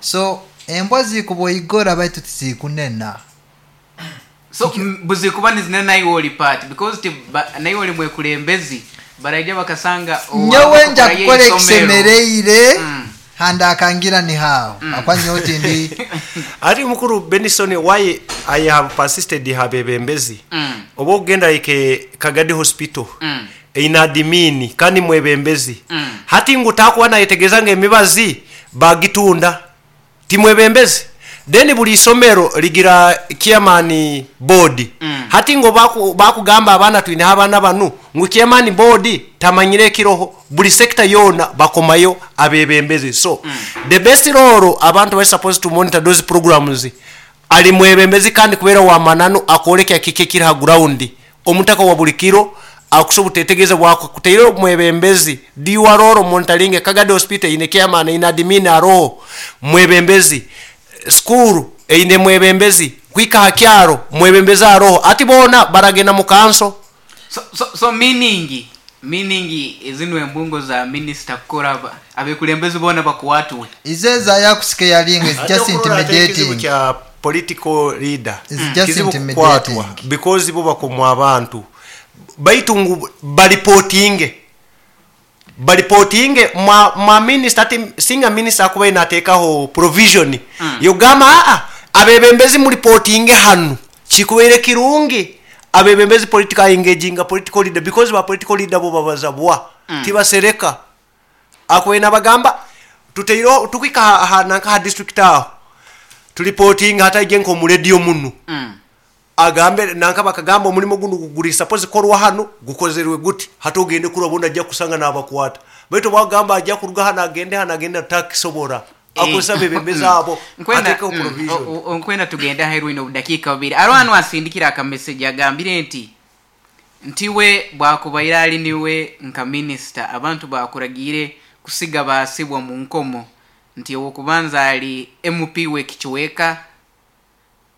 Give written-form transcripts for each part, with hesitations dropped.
So embwa zikuboigora baitu tizikunena. So buzikuba nizinena naiwe oli part because ti naiwe oli mwekulembezi baraija bakasanga Nyowe nja kukora ekisemereire handi akangira ni haaho akwa nyowe tindi. Ati mukuru Benison, why I have persisted habebembezi, oba okugenda like Kagadi Hospital, eina admin kandi mwebembezi. Hati ngu takuba nayetegereza nga emibazi bagitunda, timwebembezi. Then buli isomero ligira chairman board. Hati ngo bakugamba abaana twine abaana banu ngu chairman board tamanyire ekiroho, buli sector yona bakomayo abebembezi. So the best role abantu bari supposed to monitor those programs ali mwebembezi, kandi kubera wa mananu akoleka kike kiri ha ground. Omutaka wa buli kiro akusobola tetegeza bwako kuteire mwebembezi diwaroro monitoring. Kagadi Hospital ine chairman, ina admin, aroho mwebembezi. School eine mwebembezi, kwika hakyaro mwebembezi aroho. Ati bona baragenda mu kanso. So meaning ezino embungo za minister kukora abekulembezi bona bakuwatuwe. Izeza yakusike yalinga is just intimidating. Kya political leader It's just kizibu intimidating. kukwatwa because bo bakomwa abantu baitu ngu baripotinge mwa minister. Ati singa minister akuba inateekaho provision yogamba aa abebembezi muripotinge hanu, kikubeire kirungi. Abebembezi political engaging political leader, because ba political leader bo babaza bwa tibasereka. Akwena bagamba tuteiro tukwika ha nanka ha district aho tulipotinga hata ije nko mu radio munu. Agambe nanka bakagamba omulimo guno guguri suppose korwa hano gukozerwe guti, hatogende kurabona ajja kusanga n'abakwata. Baitu bagamba ajja kuruga hano agende hano agende takisobora akosa bebembeza abo atekeho provision. Nkwenda tugende aheru ino dakika 2. Arwanu asindikira aka message agambire nti ntiwe bwakubaire ali niwe nka minister abantu bakuragire kusiga basibwa mu nkomo, nti owokubanza ali MP we Kichweka,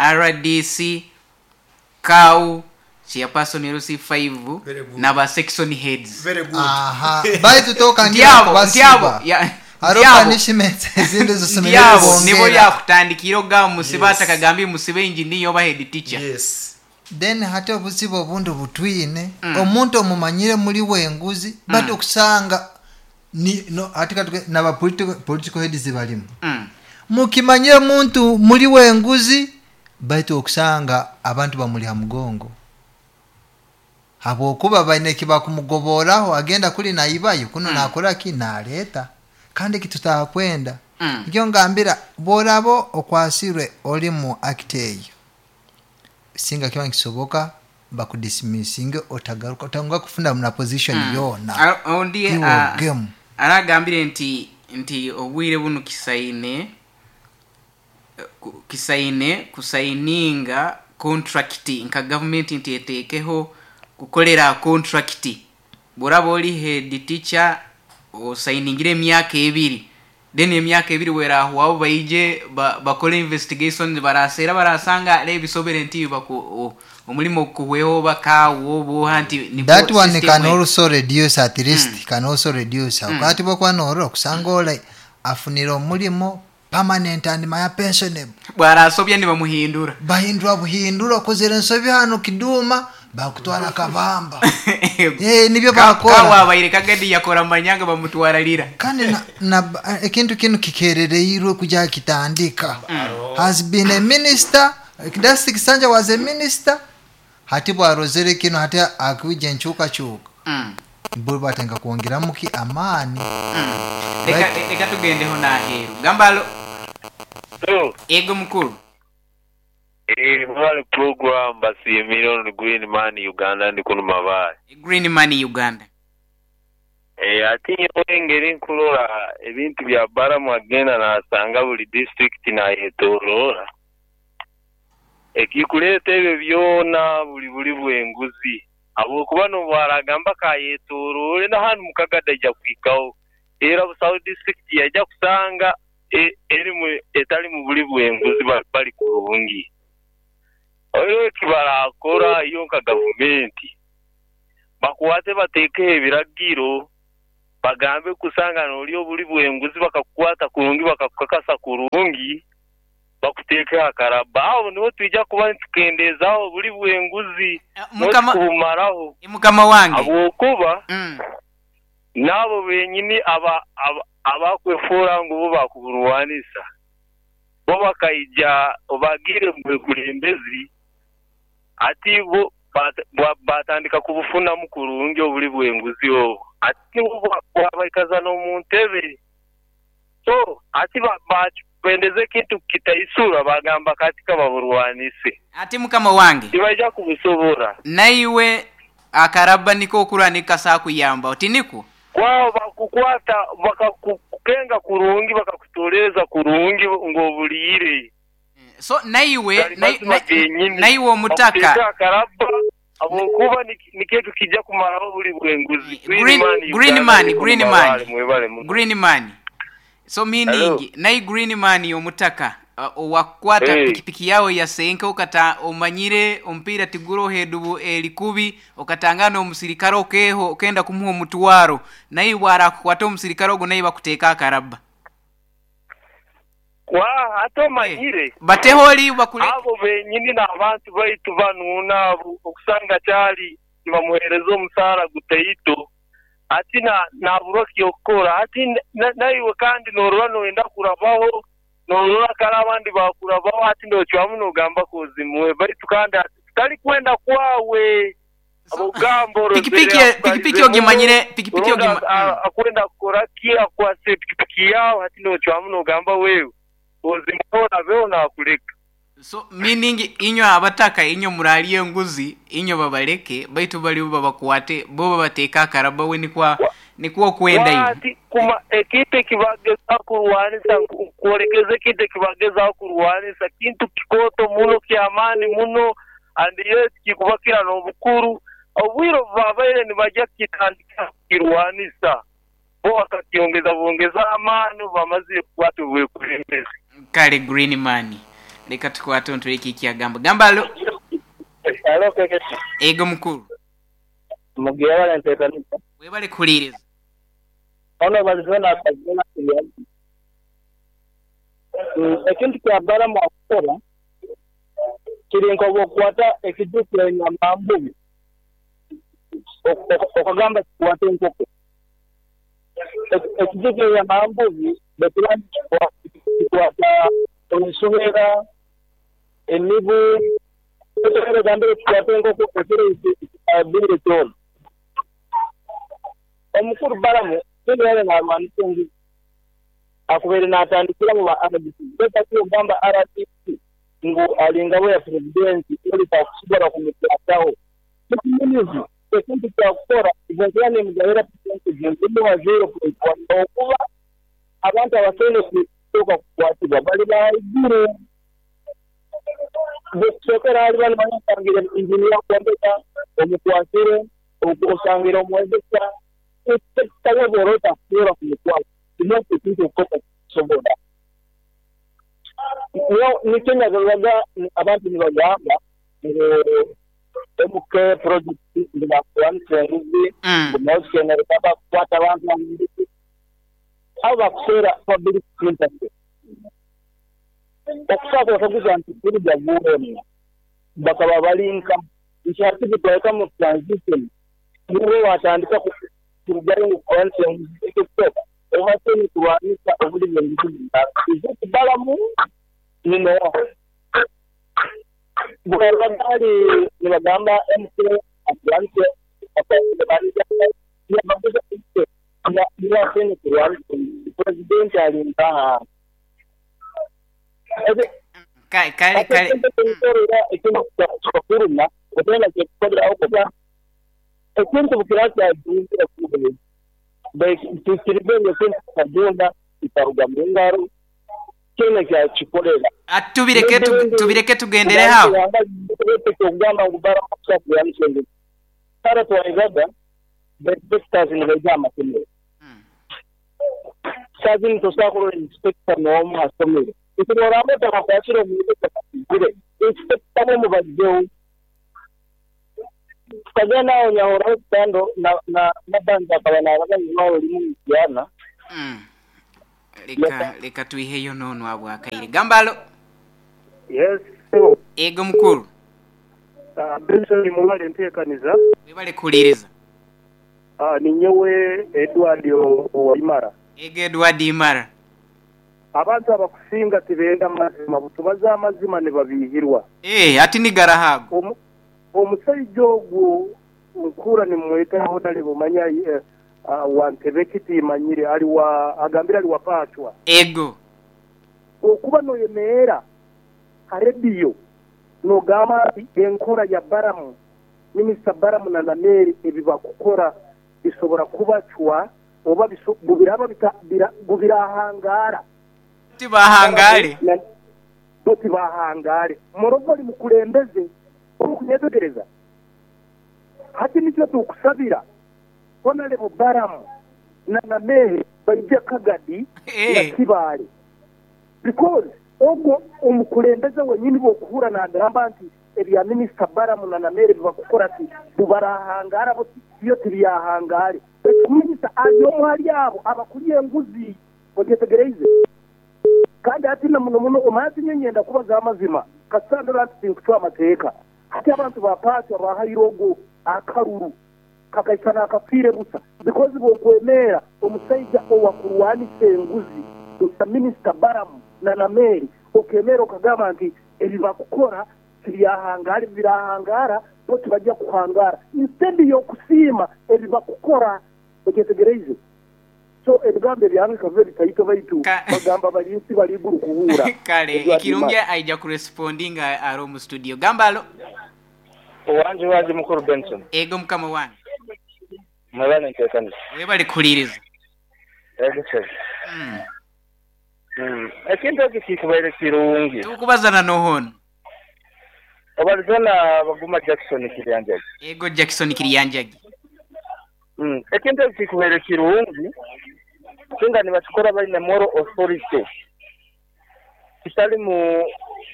RDC, Kau, chairperson LC5 Very good. na ba section heads. Very good. Aha, baitu tokangira Ndyabo, kubasiba. ndyabo, ya, Hariho ndyabo. punishment ezindi zisemerire Ndyabo, kubongera. nibo yakutandikira ogamba musibe Yes. atakagambye musibe engineer oba head teacher. Yes. Then hati obuzibu obundi butwine, omuntu omumanyire muri wenguzi, but okusanga ni no ati katuke naba political heads balimu. Mukimanyire muntu muri wenguzi, baitu okusanga abantu bamuli ha mugongo habwokuba baine kibakumugoboraho, agenda kuli naibayo kuno nakora ki naleta kandi kitutakwenda. Nikyo ngambira borabo okwasirwe oli mu act eyo, singa kiba nkisoboka bakudismissinge, otagaruka otanga kufuna na position yona. Ondi, Iwo game. Aragambire nti obwire buno kisaine kusaininga contract nka government nti etekeho kukolera contract. Boraba oli head teacher osainingire emyaka 2, then emyaka 2 werahwaho baije bakole investigation, barasera barasanga lebisobere nti omulimo kuweho bakawo boha nti niko That one system can we. also reduce, at least can also reduce. Akati bokwa noro kusanga ole afunira omulimo permanent and my pensionable. Bwarasobya ni bamuhindura. Bahindura buhindura okozera ensobi hano kiduma bakutwara kabamba. Nibyo bakora. Kawabaire kagadi yakora manyanga bamutwara lira. Kandi na ekintu kino kikerereirwe kuja kitandika. Has been a minister, Dusty Kisanja was a minister. Hati bwarozere kino hati akuija enkyukakyuka. Bo batenga kwongeramu ki amaani. Reka tugendeho n'aheeru. Gamba alo. So, Ego mukuru. Mwali program basiimire ono Green Man Uganda ndi kuno Mabaale. Green Man Uganda. Ate nyowe engeri nkurora ebintu bya Balamu agenda nasanga buli district nayetoroora. Ekikuleeta ebyo byona buli bwenguzi. Habwokuba nobwaragamba kayetoroore na hanu Mukagada ajja kuhikaho. Era Busawo district yajja kusanga erimu etali mu buli bwenguzi bali kurungi. Oyo ekibarakora iyo nka gavumenti bakwate bateekeho ebiragiro. Bagambe kusanga n'oli obuli bw'enguzi bakakukwata kurungi bakakukakasa kurungi bakuteekeho akaraba. Aho niho twija kuba nitukendeezaaho obuli bw'enguzi Mukama n'otukubumaraho. Mukama wange. Habwokuba n'abo benyini abakwefuura ngu bo bakuburwanisa bo bakaija bagiire mu bwekulembezi ati bo batandika kubufunamu kurungi obuli bw'enguzi obwo ati nibwo bwabaikaza n'omu ntebe. So ati bendeze ekintu kitaisura bagamba kati kababurwanise. Ati mukama wange tibaija kubusobora. Naiwe akaraba niko okurwa kasa kuyamba otiniko kwao bakukwata bakakukenga kurungi bakakutoreza kurungi ng'obuliire. So naiwe naiwe omutaka akaraba abokuba niketu kijja kumaraho buli bwenguzi. Green man. So meaning nai green man omutaka owakwata pikipiki yao ya senke okata omanyire ompira tiguro hedubu elikubi okatangana omusirikare okeho okenda kumuha omutwaro naye bwarakukwata omusirikare ogo naye bakuteeka akaraba. Kwa hata omanyire bateholi bakule abo benyini n'abantu baitu banuuna abo okusanga kyali nibamuhereza omusaara guteito ati naburwa kyokukora ati naiwe kandi norora noyenda kurabaho norora kare abandi bakurabaho ati nocwamu nogamba kozimuwe baitu kandi tutari kwenda kwawe. Obugambo pikipiki ogimanyire pikipiki akwenda kukora ki akwase pikipiki yawe ati nocwamu nogamba wewe ozimuhora beho nakuleka. So meaning inyo abataka inyo muraliye enguzi inyo babaleke baitu bali babakwate bo babateeka akaraba we nikwa kwenda hivi. Ati kuma ekite kibageza kurwanisa kuolekeza ekite kibageza kurwanisa kintu kikoto muno kyamani muno and yet kikubakira n'obukuru obwiro babaire nibajja kitandika kirwanisa bo bakakiongeza bongeza amani bamaze kukwata obwekulembezi. Kale green man leka tukwate ntuleke kyagamba gamba alo. Alo keketi. Ego mukuru. Mugiye ntekanisa. Webale kuliriza. Ono balizona akazona kuyamba. Ekintu kya Balamu akukora kiri nk'okukwata ekijukiro enyama mbubi okagamba kikwate enkoko. Ekijukiro enyama mbubi bekiba kikwata ensowera emibu gambire kikwate enkoko ekiro abire kyona. Omukuru Balamu yali n'alwanisa enguzi akubeere n'atandikira mu ba RDC beta ogamba RDC ngu alinga ya presidenti oli takusobola kumukwataho. Ekiminizi ekintu kyakukora iventura nemugabira percentage nzimuwa 0.1 okuba abantu abasaine kusooka kukwatibwa bali baiguru bekusookera hali bano banyasangira injiniya kwombeka omukwasire osangira omwezesa ekitabobola otakusobola kumukwata kimwesi ekintu okukoka kusobola. Nikyo nagaga abantu nibagamba ngu MK project nibakuwanisa enguzi ngumausikenere bakukwata abantu enguzi abo bakuseera public sympathy okusaaka bakaguza nti kuruga guwemu bakaba balinka nti hati bitwaleka mu transition nibo watandika kurugayo ngu kuwanisa enguzi ekyokusooka obaseni kulwanisa obuli bw'enguzi izuti Balamu ninowa bwebagaali nibagamba MK akulwanise yabaguza niwaseni kulwanisa presidenti alinkaha kale ekintu kyakuruma otenda kyekukolera okuba ekintu bukira kyajungira kuba tukirize ekintu kyajunda kitaruga mu ngaro kyona kyakikolera. Tubireke tugendere hawo okugamba ngu Balamu kare twaigaga inspectors nibaija amasomero sazini tosobola kurora inspector n'omu ha somero ekiroramba otakakwasire omuntu otakakigire inspector bo mubajjeho. Tukagenda aho Nyahora Hospital na na akaba naraba irwaro rimwe Mityana. Leka tuiheyo nono abwakaire. Gambalo. Yes. Ego mukuru. Benson mubale nteekaniza. Webale kuliriza. Ni nyowe Edward Owaimara. Ego Edward Imara. Abantu abakusinga tibenda mazima, butubaza amazima ne babihirwa. Ati ni garahago. Omusajja ogwo nkura nimwetaho nali bumanya wantebe kitimanyire ali wa agambira ali wapachwa. Ego. Okuba noyemeera harebiyo nogamba enkora ya Baramu, Minisita Baramu na Nameri ebibakukora bisobora kubacwa oba bubiraba bubirahangara. Tibahangare. Tibahangare. Morogori mukulembeze okunyetegereza. Hati nikyo tukusabira Honorable Baramu na Nameri baije Kagadi na Kibale. Because ogwo omukulembeze wenyini bokuhura nagamba nti ebya Minisita Baramu na Nameri bibakukora ati bubarahangara bo iyo tibyahangare. Minisita ayo muhali abo abakuliye enguzi ogetegereze. Kandi ati na muno muno omanyi nyenda kubaza amazima kasandora ati nkuchwa amateeka. Hati abantu bapatwa bahayiro akaruru kakaisana akafire busa because bokwemera omusajja owakurwanisa enguzi Minisita Baramu na Nameri okemera okagamba nti ebibakukora tibyahangara birahangara bo tibajja kuhangara instead yokusiima ebibakukora ogetegereze. So ebigambo ebyange kave bitaito baitu bagamba balinsi bali iguru kuhura. Kale ekirungi aija kurespondinga aro mu studio. Gambalo. Owanje waje mukuru Benson. Ego mukama wange. Mwebale ntekanisa. Webale kuliriza. Ego sir. Ekintu eki kikubaire kirungi. Tukubazana nohono. Obalizana baguma Jackson Kiryanjagi. Ego Jackson Kiryanjagi. Ekintu eki kikubaire kirungi. Singa nibakikora bali na moral authority. Kitali mu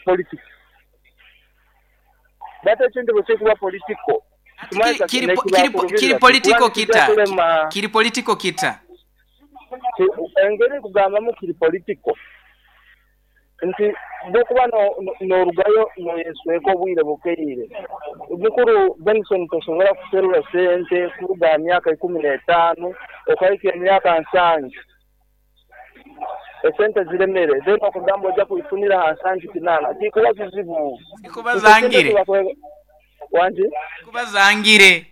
politics. Bata ekintu bwe kuba political. Kiri political kita. Kiri political kita. Engeri kugambamu kiri political. Nti bwokuba n'orugayo noyesweka obwire bukeire. Mukuru Benson tosobola kuserura sente kuruga myaka 15 okahika emyaka 7. Esente ziremere then okugamba ojja kuifunira ha 78 kikuba kizibu. Kikuba zangire. Wanje? Kikuba zangire.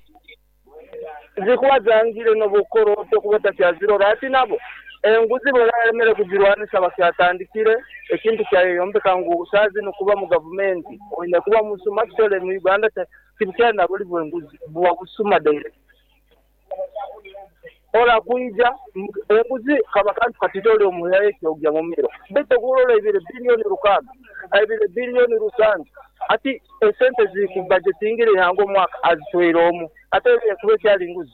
Zikuba zangire n'obukoro tokuba takyazirora ati nabo enguzi bweremere kugirwanisa bakyatandikire ekintu kyayombeka ngu sazi nokuba mu gavumenti oyina kuba musuma kitole mu Uganda tibukyana buli bwenguzi buwa busuma direct ora kuija enguzi kabakantu katitole omuyaye kyogya mu miro beto kulola ibire billioni 6 ibire billioni 7 ati esente ziri ku budgetingire hango omwaka azitwera omu ate kuba kyali nguzi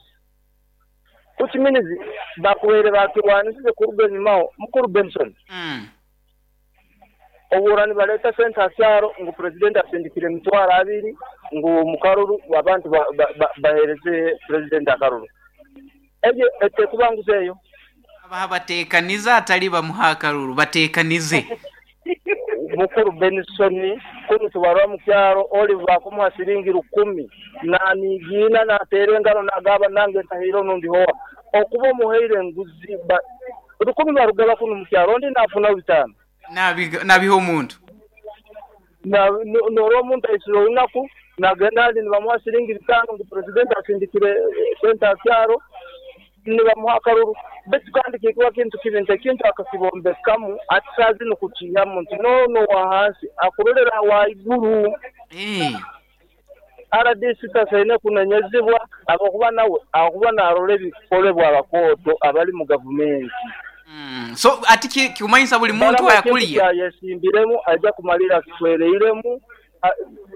kuchiminizi bakuwere bakirwanisize kuruga enyumaho mukuru Benson. Oburani baleta sente asyaro ngu president asindikire emitwaro 2 ngu mukaruru abantu bahereze president akaruru eje etekubanguzeyo abaha batekaniza atali bamuha akaruru batekanize mukuru Benson kunu tubarwa mu kyaro Oliver akumuha siringi 10 na nigina na terengano nagaba nange tahiro nundi hoa okuba omuheire enguzi 10 barugaba kunu mu kyaro ndi nafuna 5 nabiho omuntu na noro omuntu aisiro olunaku nagenda ali nibamuha siringi 5 ngu president asindikire sente akyaro nibamuha akaruru betu kandi kikuba kintu kibintu ekintu akakibombekamu atisazi nukukihamu nti nono wahansi akurolera waiguru. RDC tasaine kunenyezibwa abakuba nawe akuba narole ebikolebwa abakooto abali mu gavumenti. So ati kikumanyisa buli muntu ayakuliya yesimbiremu ajja kumalira kitwereiremu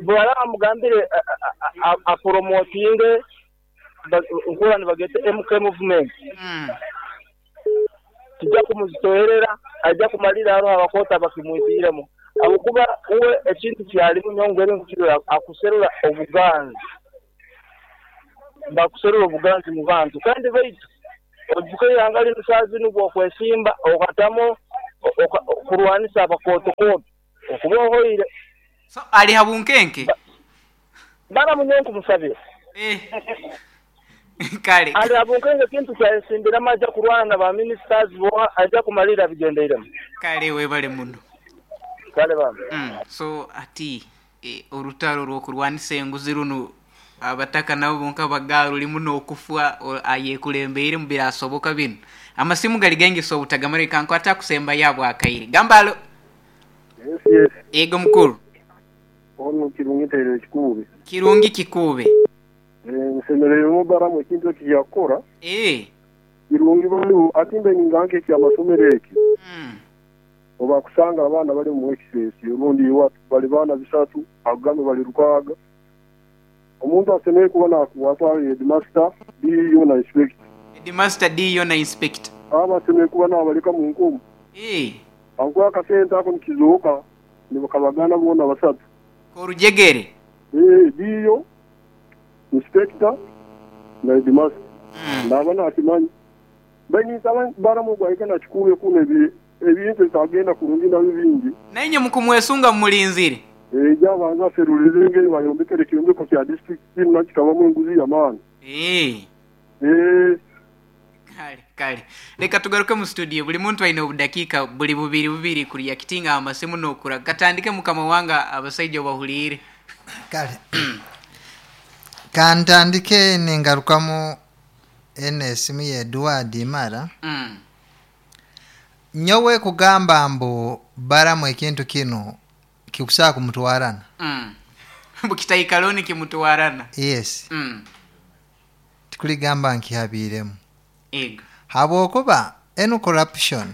bwala amugambire apromotinge nkura nibagete MK movement. Tujja kumuzitoherera ajja kumalira aro abakota bakimwitiremu abukuba uwe ekintu kyalimu nyongere nkukirora akuserura obuganzi. Bakuserura obuganzi mu bantu kandi baitu oijuke eihanga linu saaha zinu bwokwesimba okatamu okurwanisa abakooto-kooto okuba ohoire. So ali ha bunkenke? Baramu nyowe nkumusabira. Eh. Kale. Ali ha bunkenke kintu kyayesimbiramu aija kurwana na ba ministers boha aija kumalirra abigendeiremu. Kale webale muno. Kale bambi. So hati orutaro rw'okurwanisa enguzi runu abataka nabo bonka bagarulimu n'okufwa ayekulembeiremu birasoboka binu? Amasimu gali gaingi so obutagamara leka nkwate akusembayo ahabw'akaire. Gamba alo. Yes, yes. Yego mukuru. Onu Kirungi Nteire Kikuube. Kirungi Kikuube. Nsemereirwe Baramu ekintu eki yakukora. Eeh. Kirungi baliho ati mbe ninga nka eky'amasomero eki. Obu akusanga abaana bali omu excess orundi iwe bali baana bisatu akugambe bali rukaaga, omuntu asemereire kuba nakukwata headmaster, DEO na inspector. Headmaster, DEO na inspector. Abo asemereire kuba nabaleka mu nkomo. Eeh. Habwokuba akasente ako nikizooka nibakabagana boona basatu. K'orujegere. Eeh, DEO, inspector na headmaster. Naaba nakimanya. Mbaire ninsaba Balamu ogu ahike na Kikuube kunu ebintu ebitagenda kurungi nabyo bingi. Nainye mukumwesunga mumulinzire. Aije abanze aserulize engeri bayombekere ekyombeko kya district kinu nakyo kikabamu enguzi y'amaani. Eeh. Kale kale leka tugaruke mu studio buli muntu aine obudakiika buli bubiri bubiri ku reactinga aha masimu n'okura. Katandike mukama wange abasaija obahuliire. Kale kantandike ningarukamu Eno esimu ya Eduard Imara. Nyowe kugamba mbu Baramu ekintu kinu kikusobola kumutwarana. Mbu kitaikaraho nikimutwarana. Yes. Tikuligamba nkihabiiremu. Ego. Habwokuba enu corruption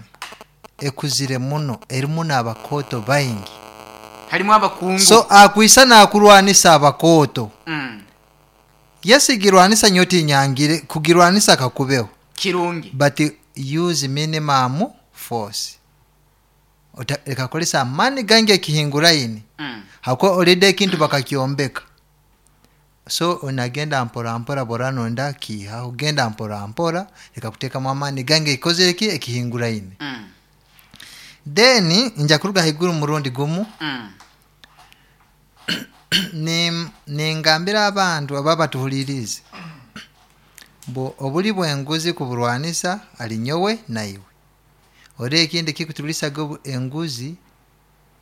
ekuzire muno erimu n'abakooto baingi. Harimu abakungu. So akwisa nakurwanisa abakooto. Yes girwanisa nyowe tinyangire kugirwanisa kakubeho. Kirungi. But use minimum force. Ota leka kukozesa amaani gaingi ekihinguraine habwokuba already ekintu bakakyombeka. So onagenda mpora mpora bworaba noyenda kiihaho genda mpora mpora leka kuteekamu amaani gaingi ekikozere ki ekihinguraine. Then nja kuruga haiguru murundi gumu. Ningambira abantu abo abatuhuliriize mbu obuli bw'enguzi kuburwanisa ali nyowe naiwe. Ori ekindi ekikutulisaga enguzi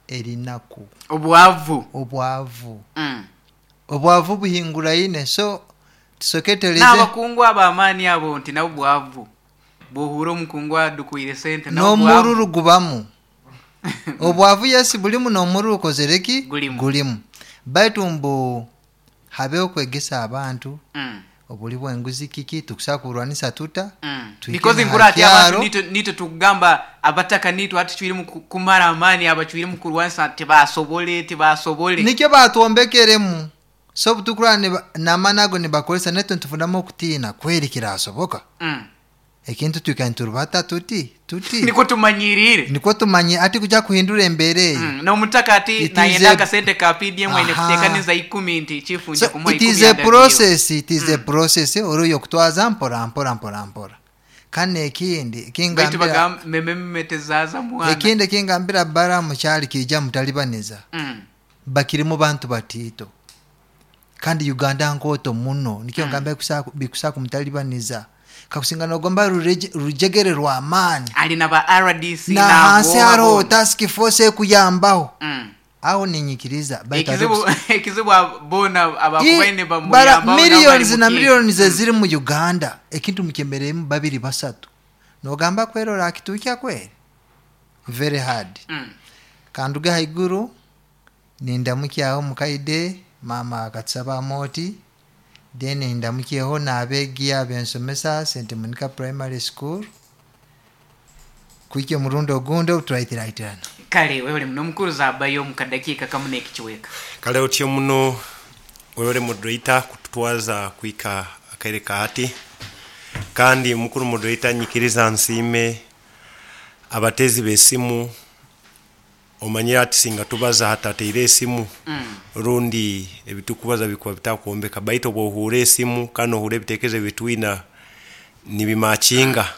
eri naku. Obwavu. Obwavu. Obwavu buhinguraine so tusoke tutereze. N'abakungu ab'amaani abo nti nabo bwavu. Bw'ohurra omukungu adukwire sente nabo bwavu. N'omururu gubamu. Obwavu yes bulimu n'omururu gukozere ki? Gulimu. Gulimu. Baitu mbu habeho okwegesa abantu obuli bw'enguzi kiki, tukusobora kuburwanisa tuta, tuhike Because na ha nkurora hati abantu kyaro. nitwe nitwe tukugamba abataka nitwe hati tucwiremu kumara amaani abacwiremu kurwanisa tibasobole tibasobole. Nikyo baatwombekeremu. So obutukurora niba n'amaani ago nibakozesa naitwe nitufunamu okutiina kweri kirasoboka? Ekintu twikara niturubata tuti, tuti. Nikwo tumanyiriire. Nikwo tumanyire hati kuja kuhindura embeera eyo. N'omutaka hati It is nayenda a akasente ka PDM aine Aha. kuteekaniza ikumi nti chifu nja So kumuha it ikumi is a agabyeho. process, it is a process ori oy'okutwaza mpora mpora mpora mpora. Kandi n'ekindi Baitu ekingambira bagamba meme meme tezaaza mwana. ekindi ekingambira Balaam kyali kiija mutalibaniza. Bakirimu bantu batiito. Kandi Uganda nkooto muno nikyo ngamba bikusobola kumutalibaniza. Kakusinga nogomba rujegere rw'amaani. Ali na ba RDC Na hansi n'abooha haroho boona. task force ekuyambaho. Aho ninyikiriza baitu Ekizibu ekizibu boona abakubaine bara nibamuyambaho nabo bari millions na mu kiika. millions eziri mu Uganda ekintu mukyemereiremu babiri basatu. Nogamba kweri orakituukya kweri? Very hard. Kanduge haiguru nindamukyaho omukaide maama akatusaba amooti then ndamukyeho n'abeegi abensomesa St Monica Primary School kuhikya omurundi ogundi obu turaiteraitirana. Kale webale muno mukuru zabayo omu kadakiika kamu n'ekicweka. Kale otyo muno webale moderator kututwaza kuhika akaire ka hati. Kandi mukuru moderator nyikiriza nsiime abateezi b'esimu. Omanyire hati singa tubaza hatateire esimu rundi ebitukubaza bikuba bitakwombeka, baitu obu ohuura esimu kandi nohuura ebitekerezo ebitwina nibimakinga,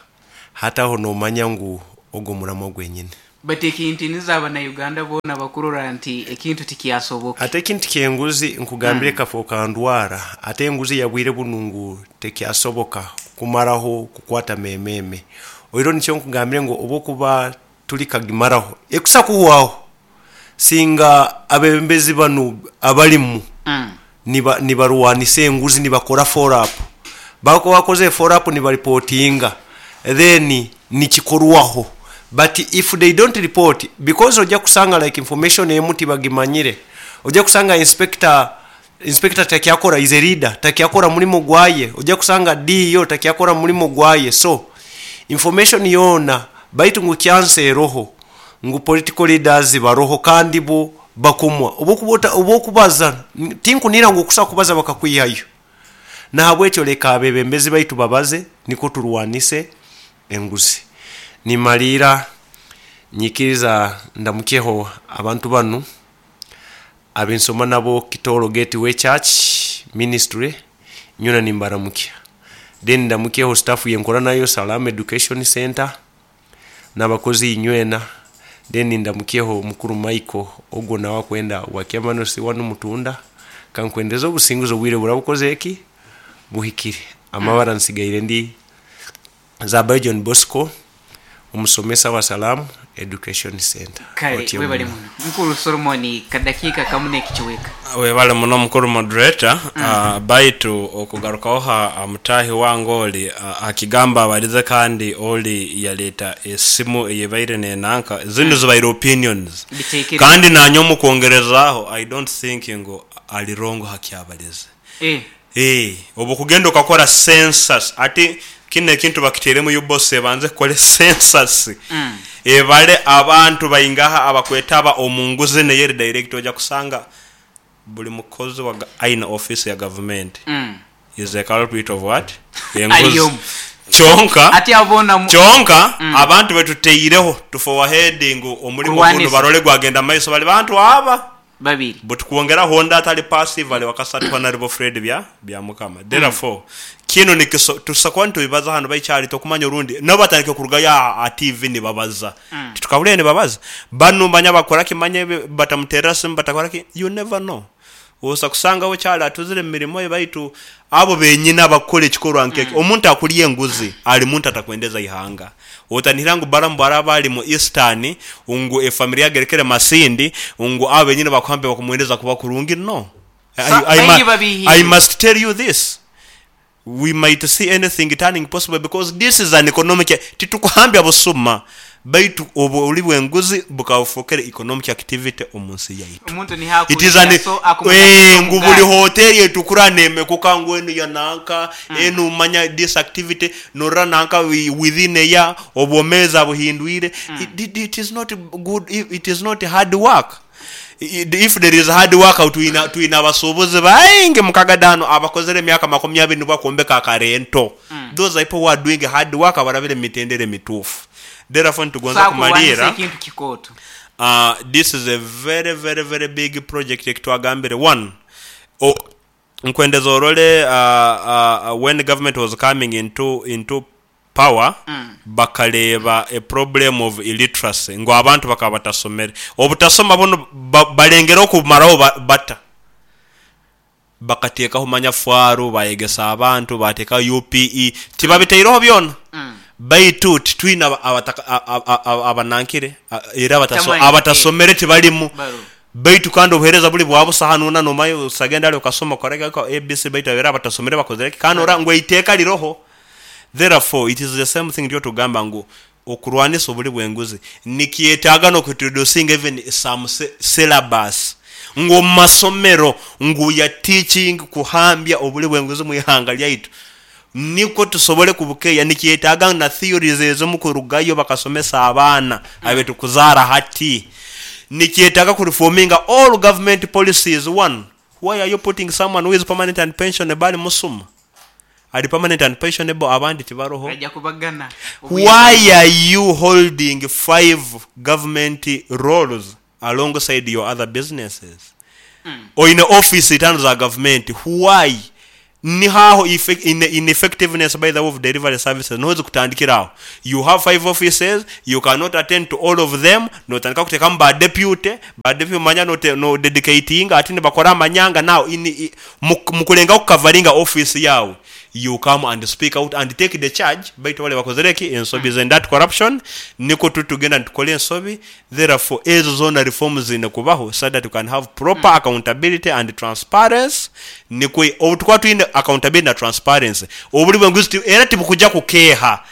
hati aho nomanya ngu ogu omuramwa gwenyini. But ekintu nizo abanauganda boona bakurora nti ekintu tikyasoboka. Ate ekintu ky'enguzi nkugambire kafooka ndwara, ate enguzi yabwire bunu ngu tekyasoboka kumaraho kukwata mememe. Oihireho nikyo nkugambire ngu obu okuba turi kagimaraho, ekusa kuhwaho singa abebembezi banu abarimu nibarwanisa enguzi nibakora follow up. Bakuba bakozire follow up nibaripotinga then nikikorwaho but if they don't report because oja kusanga like information emu tibagimanyire, oja kusanga inspector inspector takyakora is a leader takyakora murimo gwaye, oja kusanga DO takyakora murimo gwaye so information yoona baitu ngu chance eroho ngu political leaders baroho kandi bo bakomwa. Obu okuba obu okubaza tinkunihira ngu okusa kubaza bakakwihayo. Nahabwekyo leka abebembezi baitu babaze nikwo turwanise enguzi. Nimaliira nyikiriza ndamukyeho abantu banu abensoma nabo Kitooro Gateway Church Ministry nyoona nimbaramukya. Then ndamukyeho staff yenkora nayo Salaam Education Centre n'abakozi inywena. Then ndamukyeho mukuru Michael ogwo nawe akwenda bwa Kyamanosi wanu Mutunda. Kankwendeze obusinguzi obwire buraba bukozire ki? Buhikire. Amabara nsigaire ndi Zabayo John Bosco, omusomesa wa Salaam Education Centre. Kale Otyo webale muno. muno mukuru Solomon kadakiika kamu n'ekicweka. Webale muno mukuru moderator. Baitu okugarukaho ha mutaahi wange oli ha kigambo abalize kandi oli yaleeta esimu eyebaire nenanka zinu zibaire opinions Bitekerezo. Kandi nanye omukwongerezaaho I don't think ngu ali wrong hakyabalize. Obu okugenda okakora census, ati kinu ekintu bakiteiremu UBOS ebanze ekore census ebare abantu baingaha abakwetaba omu nguzi enu eyeri direct, oja kusanga buli mukozi wa aine office ya gavumenti is a culprit of what? Ali Enguzi. omu. Kyonka Ati abo boona kyonka abantu betuteireho tufowaheading omulimo gunu Kurwanisa. barole gwagenda mumaiso bali bantu aba Babiri. But kwongeraho ondi atali passive ali wakasatu Honarable Fred Bya Byamukama. Therefore, kinu nikiso tusa kuba nitubibaza hanu baikyali tokumanya orundi nabo batandike kurugayo aha TV nibabaza. Titukahurire nibabaza. Banu manya bakora ki manya ebi batamuterera simu batakora ki you never know. Osa kusanga we kyali atuzire mumirimo ye baitu abo benyini abakukora ekikorwa nkekyo. Omuntu akurya enguzi ali muntu atakwendeza ihanga. Otanihira ngu Balamu bwaraba ali mu Eastern ngu efamily agerekere Masindi ngu abo benyini bakuhambe bakumwendeza kuba kurungi no. Sa baingi babihiirwe. I must tell you this, we might see anything turning possible because this is an economic, titukuhambya busuma baitu obuli bw'enguzi bukaba bufokere economic activity omu nsi yaitu. Omuntu It is an, nihakurya so akumanya ngu buli hoteri etukura nemekuka ngu enu ya nanka, enu manya this activity norora nanka within a year obwomezi abuhindwire. It is not good, it is not hard work. If there is hard work twina abasuubuzi baingi mukagada hanu abakozere emyaka makumi abiri nibwo bakombeka akarento. Those are people who are doing hard work abarabire mu mitendera emituufu. Therefore nitugonza Saakurwanisa kumaliira. ekintu kikooto. This is a very very very big project ekitwagambire. One, nkwendeza orole when government was coming into power bakareeba a problem of illiteracy ngu abantu bakaba batasomere. Obutasoma bunu balengereho kubumaraho bata? Bakateekaho manya faaru, bayegesa abantu, bateekaho UPE, tibabitaireho byona. Baitu titwine abanankire era abatasomere tibarimu. Baitu kandi obuheereza buri bwa busa hanu hoona nomanya osagenda hare okasoma okora ABC baitu era abatasomere bakozire ki? Kandi norora ngu eiteeka riroho. Therefore it is the same thing nikyo tugamba ngu okurwanisa oburi bw'enguzi nikyetaaga n'okuintroducinga even some syllabus ngu omu masomero ngu we are teaching kuhambya oburi bw'enguzi omu ihanga ryaitu nikwo tusobole kubukeeya. Nikyetaaga na theories ezimu kurugayo bakasomesa abaana abetukuzaara hati. Nikyetaaga kureforminga all government policies. One, why are you putting someone who is permanent and pensionable ali musuma? Ali permanent and pensionable abandi tibaroho. Aija kubagana Why are you holding 5 government roles? alongside your other businesses. Oine office itano za gavumenti, why? Niho aho ineffectiveness by the way of delivery services niho zikutandikira aho. You have five offices, you cannot attend to all of them, notandika kutekamu ba deputy, ba deputy manya no dedicatinga ati nibakora amanyanga now in, mukulengaho kukavaringa office yawe. You come and speak out and take the charge baitu bale bakozire ki? Ensobi and that corruption nikwo tutugenda nitukora ensobi therefore ezo zoona reforms ziine kubaho so that we can have proper accountability and transparency nikwo obu tukuba twine accountability na transparency oburi bw'enguzi era tibukuja kukeeha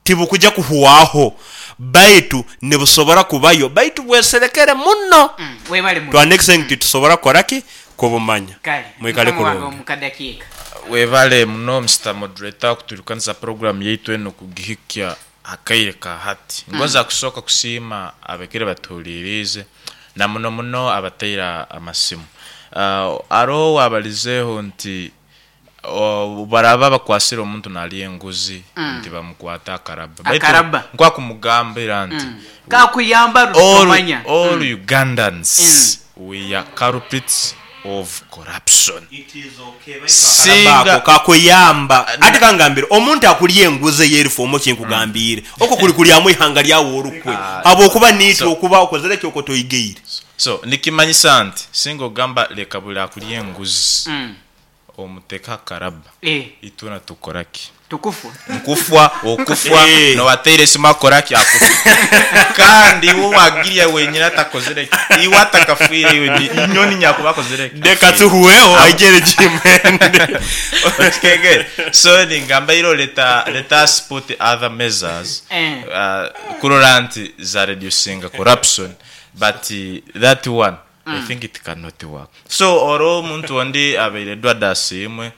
tibukuja kuhwaho baitu nibusobora kubayo baitu bweserekere muno Webale muno. to an extent titusobora kukora ki? Kubumanya. Kale Mwikale mukama wange kurungi. omu kadakiika. Webale muno Mister Moderator kuturikaniza program yaitu enu kugihikya akaire ka hati. Ngonza kusooka kusiima abakaire batuhuliriize na muno muno abataire amasimu. Haroho owabalizeeho nti obu baraba bakwasire omuntu nalya enguzi nti bamukwata akaraba. Baitu Akaraba. nkwakumugambira nti Kakuyamba all, rutomanya. all Ugandans we are culprits of corruption. Singa kakuyamba ati kangambire omuntu akulya enguzi eyerifomu kinkugambiire okwo kuli kulyamu ihanga lyawe orukwe habwokuba niitwe okuba okozere ki okwo toigeire. So nikimanyisa nti singa ogamba leka buli akulya enguzi omuteka akaraba itwena tukoraki? Tukufwa. Nkufwa okufwa nowateire esimu akoraki? Akufa. Kandi iwe wagirya wenyine atakozere ki? Iwe atakafwire iwe inyoni nyakuba akozere ki? Leka tuhuweho aigere jimende. Okikegere. So ningamba iro let us put other measures kurora nti za reducing corruption, but that one I think it cannot work. So oro omuntu ondi abaire Edward Asiimwe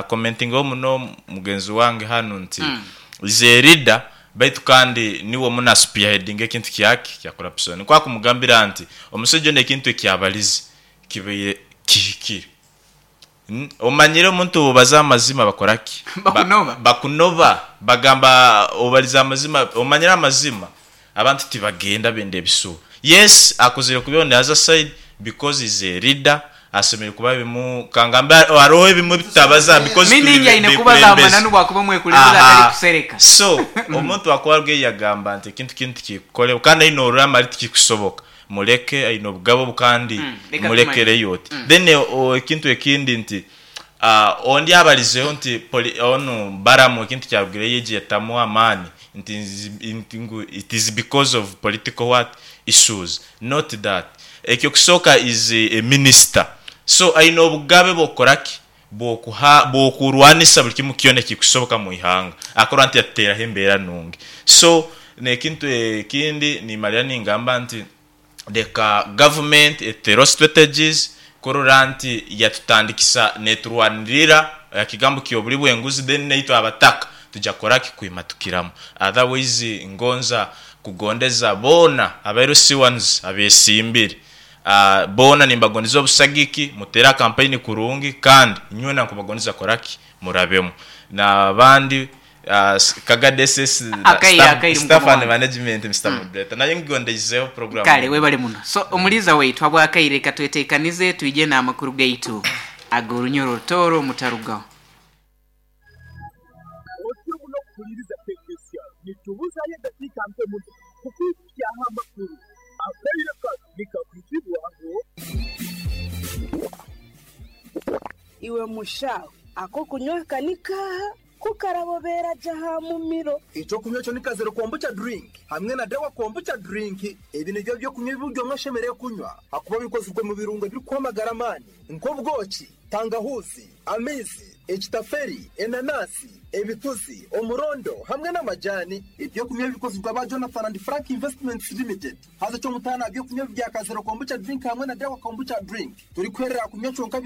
commenting muno mugenzi wange hanu nti is a leader baitu kandi niwe muna spearheading ekintu kyaki kya corruption. Nkwakumugambira nti omusajja ono ekintu ekyabalize kibaire kihikire. Omanyire omuntu obaza amazima bakoraki? Bakunoba. Bakunoba bagamba obaliza amazima, omanyire amazima abantu tibagenda benda ebisuba. Yes, akozire kubi on the other side because is a leader asemere kuba bimu kangamba hariho ebimwe bitabaza because tuli Meaning aine kubaza bekulembeze. amananu bwakuba mwekulembeze atari kusereka. So omuntu akwarwe yagamba nti ekintu kintu kikukolewa kandi aine orurama ari tikikusoboka muleke aine obugabo kandi Leka mulekereyo oti. Then ekintu ekindi nti ondi abalizeho nti onu Baramu ekintu kyarugireyo egi yatamu amaani nti nti ngu it is because of political what issues, not that ekyo kusooka is a minister, so aine obugabe bwokukoraki bwokuha bwokurwanisa buli kimu kyona ekikusoboka mu ihanga akora nti yatuteraho embeera nungi. So nekintu ekindi nimalira ningamba nti leka government etereho strategies kurora nti yatutandikisa neturwanirira ekigambo kyobuli bwenguzi, then naitwe abataka tujja kukoraki kwimatukiramu. Otherwise ngonza kugondeza boona aba LC1s abesimbire boona nimbagondeza obusagiki mutere kampeyini kurungi kandi nywena nkubagondeza koraki murabemu n'abandi Kagadi SS Akaire, akaire staff mukama and wange. management. Mr. Moderator, naye ngondeizeho program. Kale webale muno. So omuliza waitu habwakaire katwetekanize twije n'amakuru gaitu ag'orunyoro rutoro mutarugaho. Otyo muno kuhuliriza KKCR nitubuzayo edakiika nke muno kukwikyaho amakuru akaire kano nikakuzibwaho. Iwe mushaho ako kunywa kanikaha kukarabobera jaha mumiro. Ekyokunywa ekyo ni kazero kombucha drink hamwe na dawa kombucha drink. Ebi nibyo byokunywa ebi omwe ashemereire kunywa hakuba bikozirwe mu birungo ebirikuhamagara amaani nk'obwoki, tangahuzi, amaizi, ekitaferi, enanasi, ebituzi, omurondo hamwe n'amajani. Ebyokunywa bikozirwe aba Jonathan and Frank Investments Limited. Haza ekyomutaano aha byokunywa bya kazero kombucha drink hamwe na dawa kombucha drink turikuherera kunywa kyonka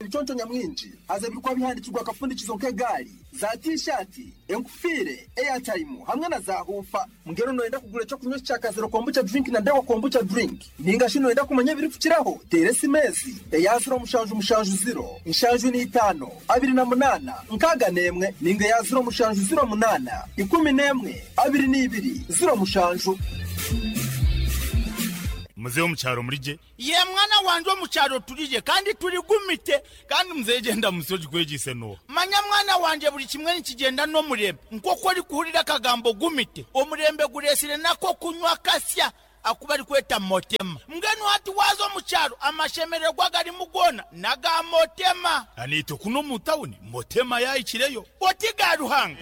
ebiconco nyamwingi haza ebirikuba bihandikirwa akafundikizo nk'egaari, za tishati, enkufiire, airtime hamwe na za hufa. Mbwenu noyenda kugura ekyokunywa kya kazero kombucha drink na dawa kombucha drink ninga shi noyenda kumanya ebirikukiraho, teera esimeezi eya 0770 75 28 61 ninga eya 0708 11 22 07. Muzeeyi omu kyaro murigye? Ye mwana wangye, omu kyaro turigye kandi turigumite. Kandi muzeeyi gyenda musi ogikwegyeise n'oha? Manya mwana wangye, buri kimwe nikigyenda n'omurembe. Nk'oku orikuhurira akagambo gumite, omurembe gureetsire n'ak'okunywa kasya aku barikweta Motema. Mbwenu hati waaza omu kyaro, amashemererwa agarimu goona n'aga Motema. Naitwe kunu omu tawuni Motema yaahikireyo. Oti ga Ruhanga.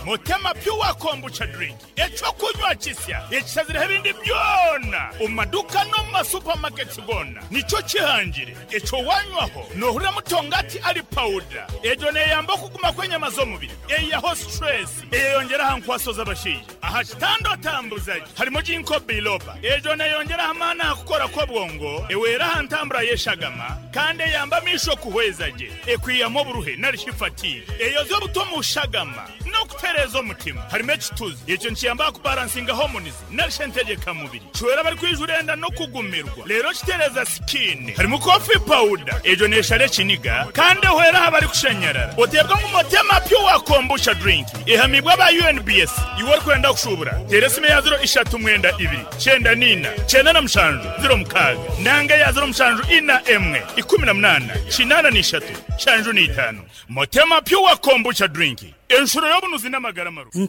Motema Pure Kombucha Drink, eky'okunywa kisya ekishazireho ebindi byona omu maduuka n'omu ma supermarkets goona nikyo kihangire. Ekyo wanywaho nohurira mutongati ari pawuda. Egyo neyamba okuguma kw'enyama z'omubiri, eyihaho stress, eyeyongyera aha nkwaso z'abashaija. Aha kitanda otambuza gye harimu Ginkgo biloba. Egyo neyongyera aha maani aha kukora kw'obwongo, ehwera aha ntambura y'eshagama kandi eyamba amaisho kuhweza gye. Ekwihamu oburuhe nari shi fatigue. Eyozya obuta omu shagama n'okutereeza omutima. Harimu ekituzi. Ekyo nikiyamba aha kubaransinga hormones nari shi entegyeka mubiri. Kihwera abarikwijura enda n'okugumirwa. Reero kitereeza sikiini. Harimu coffee powder. Egyo neeshara ekiniga kandi ehwera aha barikushanyarara. Oteebwa ngu Motema Pure Kombucha Drink ehamiibwe aba UNBS. Iwe orikwenda kushuubura, teera esimu eya ziro ishatu mwenda ibiri, 94, 97, 06 nanga eya 07 41, 18, 85. Motema Pure Kombucha Drink, enshuro y'obunuzi n'amagara marungi.